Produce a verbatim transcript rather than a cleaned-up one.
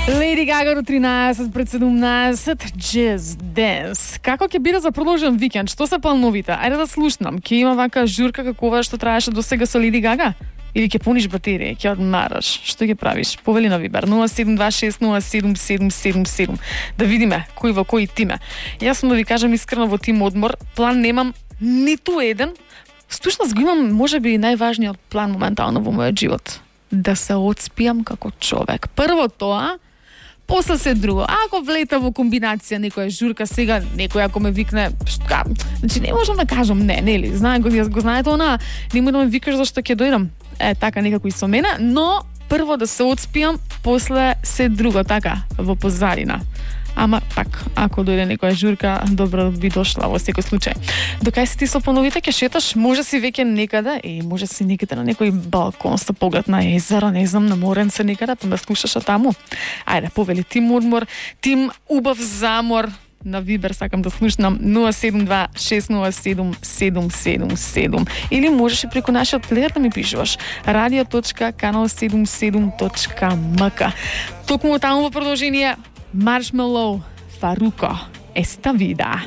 Lady Gaga до тринаесет пред седумнаесет, Just Dance. Како ќе биде за продолжен викенд? Што се плановите? Ајде да слушнам. Ќе има вака журка какова што траеше до сега со Lady Gaga? Или ќе пуниш батерија, ќе одмараш? Што ќе правиш? Повели на Вибер нула седум два шест нула седум седум седум седум. Да видиме кој во кој тиме. Јас сум да ви кажам искрено во тим одмор, план немам ниту еден. Стушност го имам можеби најважниот план моментално во мојот живот. Да се одспијам како човек. Прво тоа, после се друго. Ако влета во комбинација некоја журка сега, некој ако ме викне, шта, значи не можам да кажам не, нели? Знае го, го знаете она, нема да ме викаш зашто ќе дојдам. Е, така некако и со мене, но прво да се одспијам, после се друго, така, во позадина. Ама пак, ако дојде некоја журка, добро би дошла во секој случај. Докај си ти со плановите ќе шеташ, може си веќе некаде, и може си некаде на некој балкон со поглед на езеро, не знам, на моренце некаде, па да слушаш таму. Ајде, повели тим одмор, тим убав замор. На Вибер сакам да слушнам нула седум два шест нула седум седум седум седум. Или можеш и преку нашиот плеер да ми пишуваш радио точка канал седумдесет и седум точка ем ка. Токму таму во продолжение Marshmello, Farruko, Esta Vida.